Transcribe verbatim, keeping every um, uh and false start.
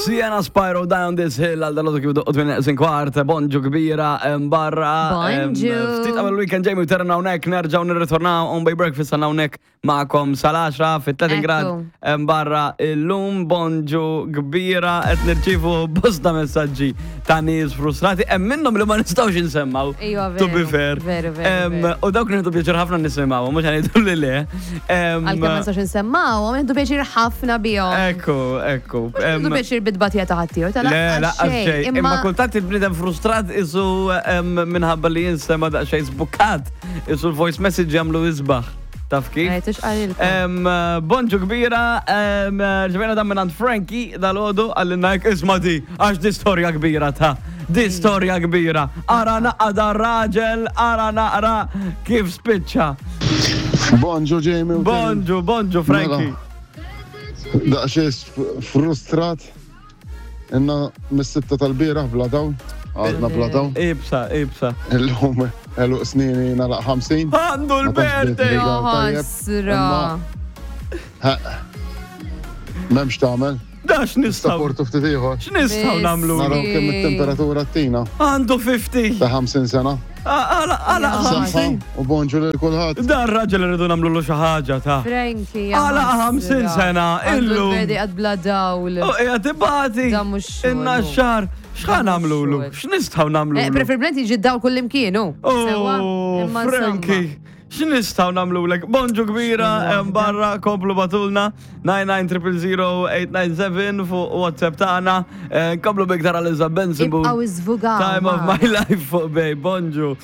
Sienna Spyro Down This Hill għal dal kif doqqot minn neqsin kwart, bonġu kbira em, barra. em, Bonġu. Ftit qabel weekend Jamie u terna hawnhekk nerġgħu nirritornaw on by breakfast għandna hawnhekk magħkom sal-għaxra fit-tletin Ekku. grad em, barra illum bonġu kbira qed nirċievu bosta messaġġi ta' nies frustrati hemm minnhom li ma nistgħux insemmaw. Iva, To be veru, fair. veru, veru, Em, veru. U dawk nieħdu pjaċir ħafna nisimgħu, mhux ħa ngħidu li le. Em, Għalkemm ma nistax nsemmaw, għamiltu pjaċir ħafna bihom. Ekku, ekku. Em, Għandu pjaċir bit-tbatija ta' ħaddieħor, ta' Le, lanqas lanqas xejn. Imma Imma kultant il-bniedem frustrat isu em, minħabba li jinsema daqsxejn zbukkat. Isu l-voice message jagħmlu isbaħ. Taf kif? Eh, tix qalilkom. Em, Bonġu kbira, em, rċevejna dan minn Frankie dal-ħodu għallinna jek isma di, għax di storja kbira ta' di storja kbira. Ara naqra dar raġel, ara naqra kif spiċċa. Bonġu Jamie. u Bonġu, bonġu Frankie. Mela. Daqsxejn frustrat. Inna mis-sitta tal-bieraħ bla dawl. Għadna bla dawl. Ibsa, ibsa. Illum għeluq snini nagħlaq ħamsin. Għandu Ma tantx bdiet l-birthday! li tajjeb, Ħasra. imma- Ha. M'hemmx tagħmel. Da x'nistgħu? Saportu ftit ieħor. X'nistgħu Miss. nagħmlu? Naraw kemm it-temperatura t-tina Għandu ħamsin. ta' ħamsin sena. Għala, għala, Ja. Saħħa u bonġu lil kulħadd. Dan raġel irridu nagħmlu xi ħaġa ta' Frankie, Għala ħamsin sena, illum. Għandu għad bla dawl. U qiegħed ibati. Dan mhux xogħol, Inna hu. x-xahar. X'ħa Dan mhux nagħmlulu? xogħol. X'nistgħu nagħmlulu? Eh, Preferibilment jiġi dawl kull imkienu. Sewa, Oh, imma Frankie, x'nistgħu nagħmlulek? Bonġu kbira, hemm barra, komplu ibagħtulna nine nine zero zero zero eight nine seven fuq WhatsApp tagħna. Eh, Komplu biktar għal Benson. Ibqgħu iżvugaw, Time of ma. my life fuq Bay. Bonġu.